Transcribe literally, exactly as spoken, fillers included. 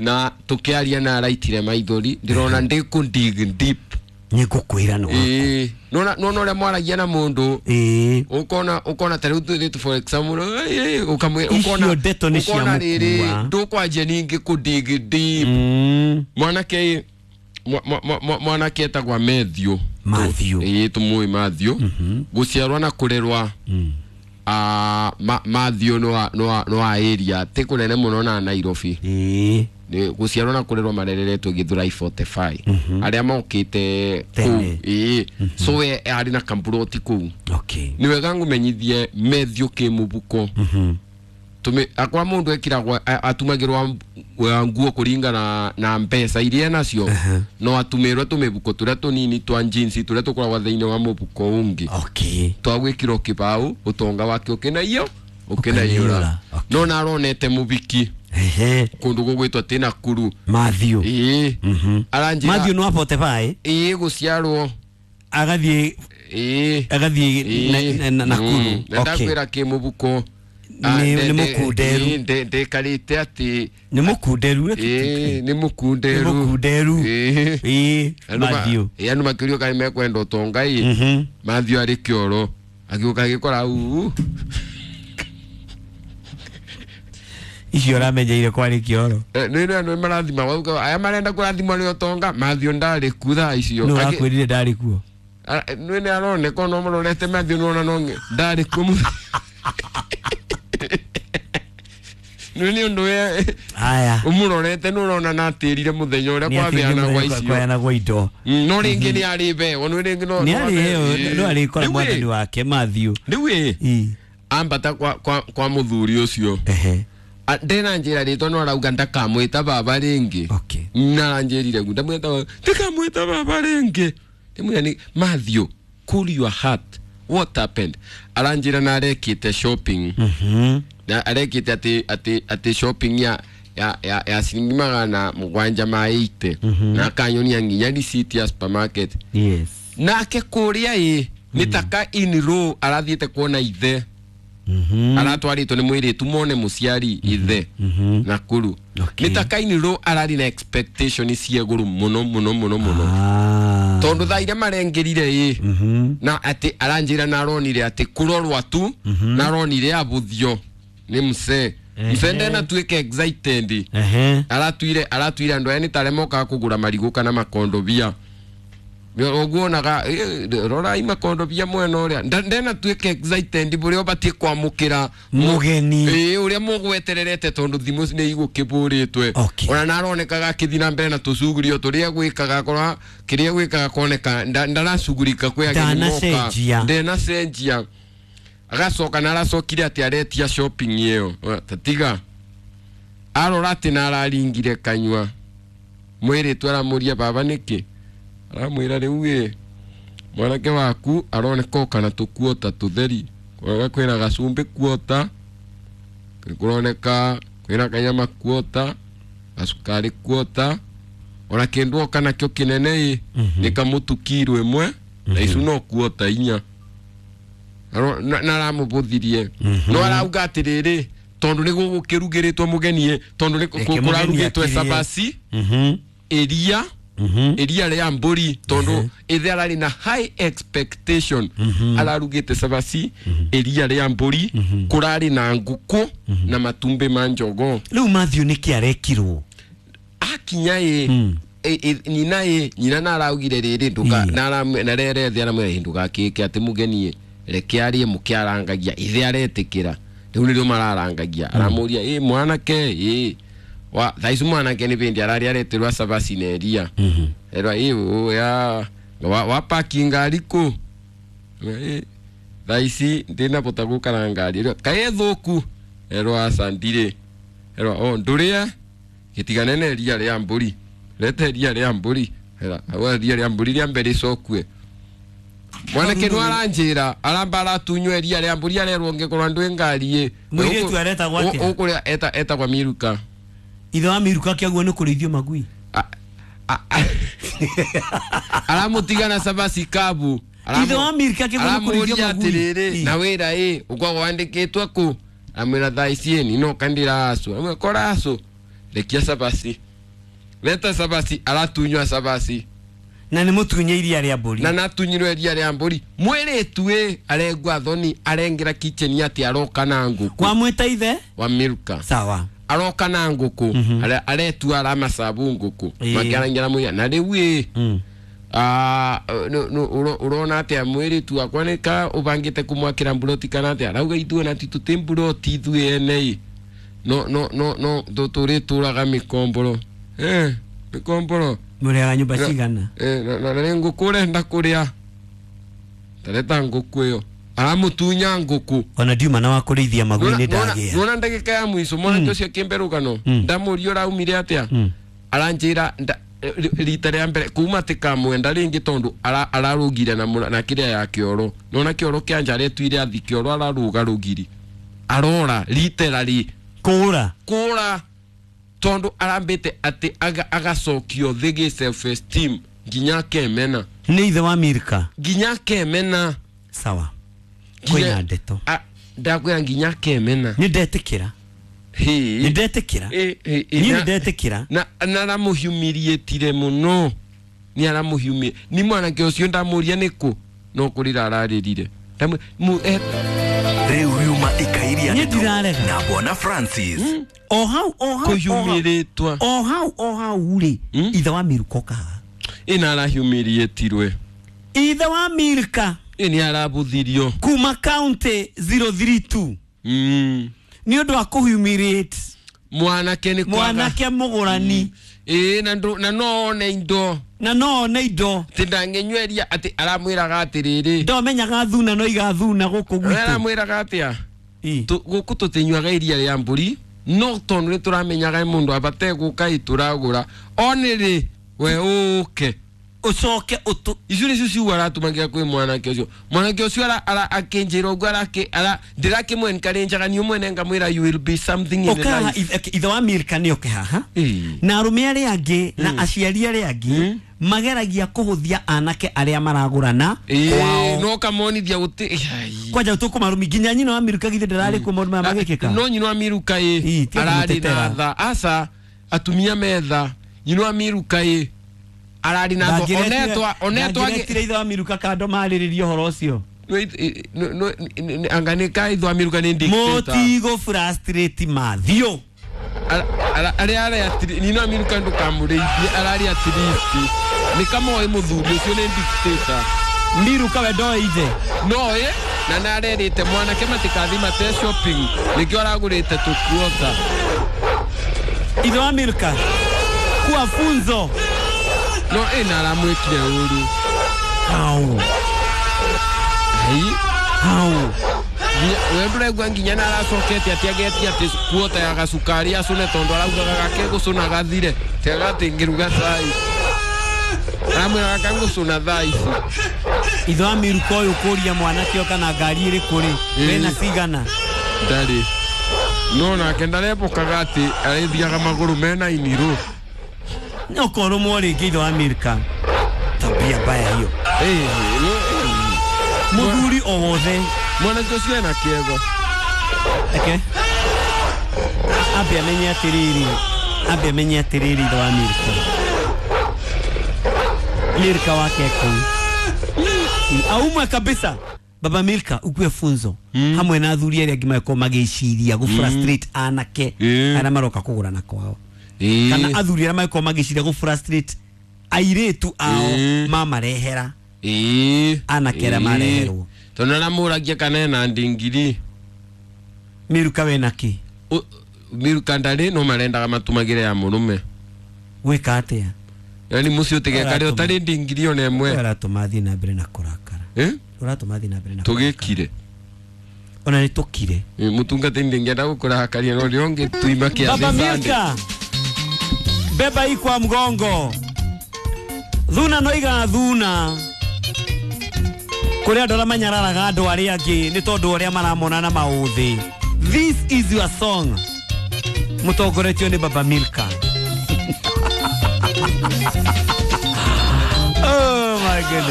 Na tukiaria na araitire maithori ndirona ndiku dig deep. Nigukwira no. Eh, nona nona uria mwaragia na mundu. Eh. Ukona ukona tariu tu for example eh ukamwe ukona ukona riri ndukwanjia ningi ku dig deep. Mm. Mwanake mwanake etagwa Matthew. Matthew. Eh tumui Matthew. Guciarwa na kurerwa. Mm. Ah Matthew no no no area ti kunene muno na Nairobi. Eh. Ni guciarwo na kurerwa marereretwo Githurai forty-five. Aria mokite kuu. Eh. So we ari na kamburoti kuu. Okay. Ni wega ngumenyithie Matthew kimubuko. Mhm. Tume akwa mundu ekiragwa atumagirwa nguo kuringana na mbeca iria nacio no atumirwe tumibuko turia tunini twa jeans turia tukoragwa thiini wa mubuko ungi. Okay. Twagwikirwo kibau utonga wake ukinaiyo ukinaiyura. No na aronete mubiki. Ehe. Kundu gugwitwa ti Nakuru. Matthew. Ii. Mhm. Aranjira Matthew no forty-five. Ii guciarwo. Agathie ii agathie Nakuru. Okay. Ndakwira kimubuko. Ni mukunderu. Ndekarite ati ni mukunderu. Eh ni mukunderu. Ni mukunderu. Eh Matthew. Eh andu makiurio kari mekwenda utonga ii. Mhm. Matthew ari kioro agiuka agikora uu. Icio ramenyeire kwari kioro. Eh ni ni marathima wauga aya marenda kurathimwo ni utonga Matthew ndari ku thaa icio. No akwirire ndari kuo. Ni ni aroneka no murorete Matthew nona no ndari ku. Nini undu we aya umurorete nurona na atirire muthenya uria kwabeana gwa icio kwabeana gwa indo no ringi ni ari bewo no ringi no ni ari no ari kora mwathani wake Matthew riu ii ambata kwa kwa kwa muthuri ucio ehe ndena njira ritwa no arauga ndakamwita baba ringi. Okay. Na anjirire ngu ndamwita ndakamwita baba ringi ndimwira ni Matthew cool your heart what happened aranjira na arekite shopping. Mhm. Na arekite ati ati ati shopping ya ya ya, ya ciringi magana mugwanja ma eighty. Na akanyonia nginya receipt ya supermarket. Yes. Nake kuria ii ni taka in row arathiete kuona ithe. Mhm. Aratwaritwo ni mwiritu mone muciari ithe. Mhm. Nakuru. Okay. Ni taka in row arari na expectation cie guru muno muno muno muno. Ah. Tondu thaa iria marengirire ii. Mhm. Na ati aranjira na aronire ati kurorwa tu na aronire abuthio ni mse. Mse ndena tuike excited. Ehe. Aratuire aratuire andu aya ni tare moka kugura marigu kana makondobia. Oguonaga rora i makondobia mwena uria ndena tuike excited buria ubatie kwamukira mugeni. Eh uria mugwetererete tondu thimu ni igukiburitwe. Ona naronekaga akithi na mbere na tucugurio turia gwikaga kora kiria gwikaga koneka ndaracugurika kwi ageni moka ndena cenjia. Agacoka na aracokire ati aretia shopping iyo tatiga arora ati na araringire kanyua mwiritu aramuria baba niki aramwira riu ĩ mwanake waku aroneka oka na tukuota tutheri kuroneka kwina gacumbi kuota kuroneka kwina kanyama kuota gacukari kuota ona kindu oka nakio kinene ĩ ni kamutu kiro imwe na icu no kuota inya na aramubuthirie no arauga atiriri tondu ni gugukirugiritwo mugeni tondu ni kurarugitwe cabaci iria iria ria mburi tondu ithe arari na high expectation ararugite cabaci iria ria mburi kurari na nguku na matumbi ma njogo. Riu Matthew niki arekirwo akinya ĩ nyina ĩ nyina na araugire riri nduka na na rere thi aramwira ndugakike ati mugeni reke arie mukiarangagia ithe aretikira riu nirio mararangagia aramuria ĩ mwanake ĩ wa thaicu mwanake ni bindi arari aretirwa cabaci na iria erwa ĩ ya wa, wa parking ngari ku thaici ndinabota gukara ngari kaĩ thuku erwa aca ndirĩ erwa o ndurie gitigane na iria ria mburi rete iria ria mburi era awa iria ria mburi ria mbere icokue mwanake no aranjira aramba aratunywa iria ria mburi arerwo ngikorwa ndwi ngari ĩ mwiritu aretagwo atia ukuria eta etagwa Miruka ithe wa Miruka kiaguo ni kurithio magui aramutigana cabaci kabu ithe wa Miruka kiaguo ni kurithio magui atiriri na wira ĩ ukwagwo wandikitwo ku amwira thaa ici ni no kandira acu amwira kora acu Rekia cabaci, leta cabaci. Aratunywa cabaci. Na nĩ mũtunye iria rĩa mbũri. Na natunyirwo iria rĩa mbũri. Mwĩrĩtu ĩ arengwa thoni, arengera kitchen atĩ aroka na ngũkũ. Wamwĩta ithe wa Milka. Sawa. Aroka na ngũkũ, aretua aramacabu ngũkũ. Ĩĩ. Makĩarangira mũira na rĩu ĩ Mm. ah, no- no- ũro- ũrona atĩa mwĩrĩtu wakwa nĩ ka ũbangĩte kũmwakĩra mburoti kana atĩa? Arauga ithuĩ na titũtĩ mburoti ithuĩ ene ĩ no no no no tũrĩtũraga mĩkomboro, eh mĩkomboro. Mũrĩaga nyũmba cigana? Eh, na na nĩ ngũkũ ũrenda kũrĩa, tareta ngũkũ ĩyo. Aramũtunya ngũkũ. Ona ndiuma na wa kũrĩithia magui nĩ ndagĩa. Nona ndagĩka ya mũico mwanake ũcio akĩmbe rũgano, ndamũria ũraumire atĩa, Mm. aranjĩra nda- rita rĩa mbere kuma tikamwenda rĩngĩ tondũ ara- ararũgire na mũra- na kĩrĩa ya kĩoro. Nona kĩoro kĩa nja aretuire athi kĩoro, ararũga rũgiri, arora literally. Kũra. Kũra, tondũ arambĩte atĩ aga- agacokio thĩ gĩ self esteem nginya akemena. Nĩ ithe wa Milka. Nginya akemena. Sawa. Nginya- Kwĩna ndeto. A- ndakwĩra nginya akemena. Nĩ ndetĩkĩra. Hĩ. Nĩ ndetĩkĩra. Ĩ, ĩ, ĩ, Niĩ na- nĩ ndetĩkĩra. na na aramũhumiliatire mũno, nĩ aramũhumia ni mwanake ũcio. Ndamũria nĩkũ no kũrĩra ararĩrire. Ndamũ- mu- eh, Rĩu riuma ikairia Niĩ ndeto ndirarega. na Bwana Francis. O hau, o hau, o hau. Kũhumĩrĩtwa. O hau, o hau rĩ, Mm. ithe wa Milka oka haha. Ĩna arahumiliatirwe. Ithe wa Milka. Ĩ nĩ arabuthirio. Kuma county zero three two. Mm. Nĩ ũndũ wa kũhumiliate mwanake nĩ kwaga mwanake mũgũrani. Ĩ na ndũ- na no one indo. Na no one indo. Atĩ ndangĩnyweria atĩ aramwĩraga atĩrĩrĩ, Ndomenyaga thuna no igathuna gũkũ gwitũ. Aramwĩraga atĩa? Ĩ. Tu- gũkũ tũtinyuaga iria rĩa mbũri, no tondũ nĩ tũramenyaga mũndũ abate gũka ĩ tũragũra onĩrĩ we ũke. Ũcoke ũtũ Icio nĩcio ciugo aratũmagĩra kwĩ mwanake ũcio. Mwanake ũcio ara- ara- akĩnjĩra ũguo arakĩ- ara- ndĩrakĩmwenkarĩnjaga niĩ mwene ngamwĩra, "You will be something in ũkaha life." ithe ithe wa Milka nĩ oke haha. Ĩ. Na arũme arĩa angĩ na aciari arĩa angĩ mageragia kũhũthia anake arĩa maragũrana Ĩ, kwao. no kamonithia gũtĩ. Ai. Kwanja tũkũmarũmi nginya nyina wa Milka githĩ ndararĩ kuo maũndũ maya magĩkĩka? No nyina wa Miruka Ĩ, ĩ tiga ararĩ na kũmũtetera. tha aca atumia metha. Nyina wa Miruka ĩ ararĩ na tha onetwa onetwa. Ndangĩretire ithe wa Miruka kando marĩrĩrie ũhoro ũcio. Anga nĩ ka ithe wa Miruka nĩ dictator. Mũtigũ frustrate Mathiũ. Ara- ara- arĩa arĩa nyina wa Miruka ndũkamũrĩithie, ararĩ at least nĩ kamoĩ mũthuri ũcio nĩ dictator. Miruka we ndoĩ ithe. No ĩ na nĩ arerĩte mwanake matikathi mate shopping, nĩkĩo aragũrĩte tũkuota. Ithe wa Milka kuwa funzo. No ĩ na aramwĩkire ũru. Hau. Ai. Hau. Nginya- we ndũraigua nginya na aracokete atĩ agetia atĩ kuota ya gacukari acũne, tondũ araugaga gake gũcũna gathire tiaga atĩ ngĩruga cai, aramwĩra gaka ngũcũna thaa ici. Ithe wa Miruka ũyũ kũria mwanake o kana ngari ĩrĩkũ rĩ, Ĩ. wĩna cigana. Ndarĩ no nake ndarebokaga atĩ arĩthiaga magũrũ mena inirũ. Ũkorũmwo rĩngĩ ithe wa Milka, tabia mbaya hiyo. Ĩ, no- Mũthuri o wothe. Mwanake ũcio ena kĩego. Eke ambe amenye atĩrĩrĩ, ambe amenye atĩrĩrĩ, ithe wa Milka, Milka wake kũu aumwe kabisa. Baba Milka ukue funzo mm. hamwe na athuri arĩa angĩ magĩkorwo magĩciria gũ frustrate anake Mm. arĩa maroka kũgũrana kwao, Ĩ. kana athuri arĩa magĩkorwo magĩciria gũ frustrate airĩtu ao Mm. mamarehera Ĩ. anake arĩa Ĩ. mareherwo. Tondũ aramũragia kana ena ndingiri. Miruka wena kĩ? U- Miruka ndarĩ no marendaga matumagĩre ya mũrũme. Gwĩka atĩa? Yani mũciĩ ũtigeka rĩ Ũratũma. ũtarĩ ndingiri ona ĩmwe. Ũratũma thiĩ na mbere na kũrakara. Eh? Ũratũma thiĩ na mbere na kũrakara. Tũgĩkire. Ona nĩ tũkire. Ĩ, mũtungatĩri ndĩngĩenda gũkũrakaria no rĩo ngĩtuima kĩathĩ Baba Sunday. Milka, beba hii kwa mgongo. Thuna no igathuna kũrĩ andũ arĩa manyararaga andũ arĩa angĩ nĩ tondũ ũrĩa maramona na maũthĩ. This is your song, mũtongoretio nĩ Baba Milka.